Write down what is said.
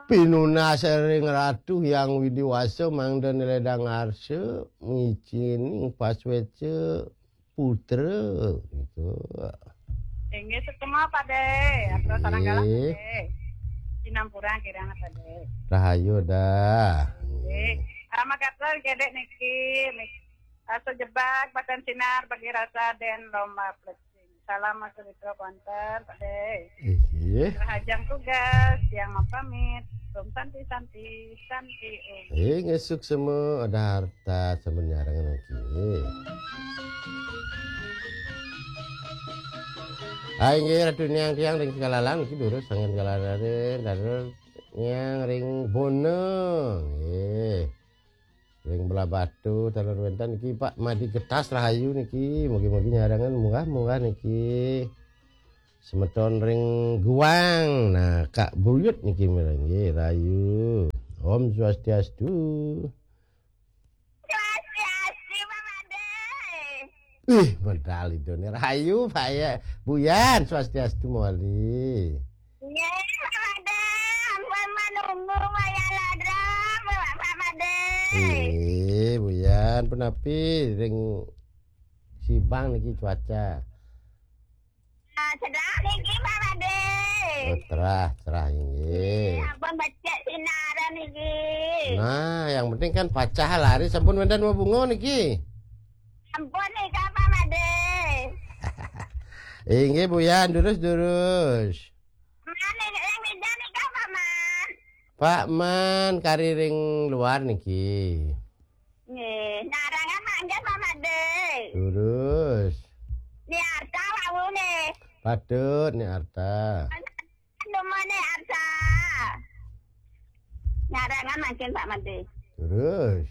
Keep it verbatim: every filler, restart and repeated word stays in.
Pinunas ring Ratu Hyang Widi Wasa mangda nledang arsa, micin ing pasweca putra, gitu. Inggih, sukma, Pade. Atur sareng galah, Inggih. Pade. Sinampura kirang, Pade. Rahayu dah. Inggih. Rama Gatel gedek niki, nik-, rasa jebak, batan sinar, bagi rasa den lomba plecing. Salam Mas Rito Konter, Pade. Inggih. Rahajeng tugas, yang mapamit. Om Santi, Santi, Santi, Om. Inggih, suksma, ada harta, sampun nyareng niki. Ah, inggih, Ratu Nyang tiang ring Sekalalang niki durus sangan Sekalalang, durus Nyang ring Bona. Nggih. Ring Blahbatuh, taler wénten niki Pak Madi Getas Rahayu niki. Mugi-mugi nyarengan munggah-munggah niki. Semeton ring Guang. Nah, Kak Buyut niki mireng nggih, Rahayu. Om Swastiastu. Swastiastu, Pak Made. Ih, medal itu nih Rahayu, Pak ya. Buyan, Swastiastu mawali. Nggih, Pak Made. Ampun manunggu wayah ladra, Pak Made. Nggih, Buyan, punapi ring Sibang niki cuaca? Ah, cerah niki, Pak Made. Oh, cerah, cerah, inggih. Nggih, ampun becik sinaran niki. Nah, yang penting kan pacah lari sampun wénten mabunga niki. Ampun nika, Pak Made. Inggih, Buyan, durus, durus. Man, ing, ing mija nika, Pak Man. Pak Man, kari ring luar niki. Nggih, narangan manggen, Pak Made. Durus. Ni Arta wau nih. Patut, Ni Arta. Cuma Ni Arta. Narangan manggen, Pak Made. Durus.